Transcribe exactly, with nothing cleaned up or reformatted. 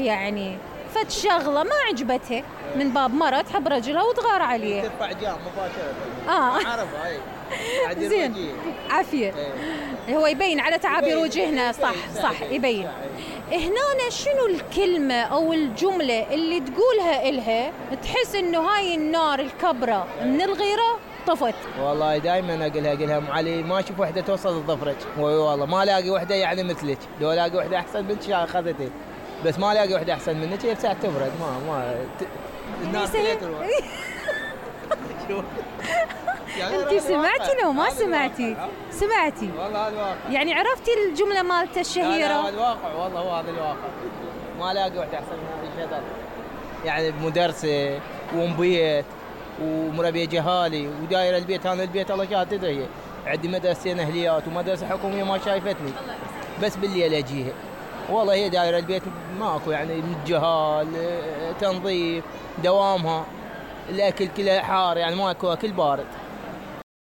يعني فد شغله ما عجبتها من باب مرة تحب رجلها وتغار عليه ترفع جام مباشرة. اه عرفها هاي زين عافية. ايه. هو يبين على تعابير وجهنا. صح صح يبين. هنا شنو الكلمة او الجملة اللي تقولها إلها تحس انه هاي النار الكبرى من الغيرة طفت؟ والله دائما اقولها اقولها ام علي ما اشوف وحده توصل لظفرك، والله ما الاقي وحده يعني مثلك، لو الاقي وحده احسن منك اخذتك، بس ما الاقي وحده احسن منك هي بساعة تبرد ما ما ت... الناس كلها تروح. انت سمعتي لو ما سمعتي؟ سمعتي والله هذا الواقع. يعني عرفتي الجملة مالته الشهيرة؟ هذا الواقع والله هو هذا الواقع، ما الاقي وحده احسن من هذا الشغل، يعني مدرسة ومبيت ومربيه جهالي ودايره البيت. انا البيت الله شاهد تدري عندي مدرستين اهليات ومدرسه حكوميه ما شايفتني، بس بالليل اجيها والله هي دايره البيت ماكو يعني من الجهال، تنظيف دوامها، الاكل كله حار يعني ماكو اكل بارد.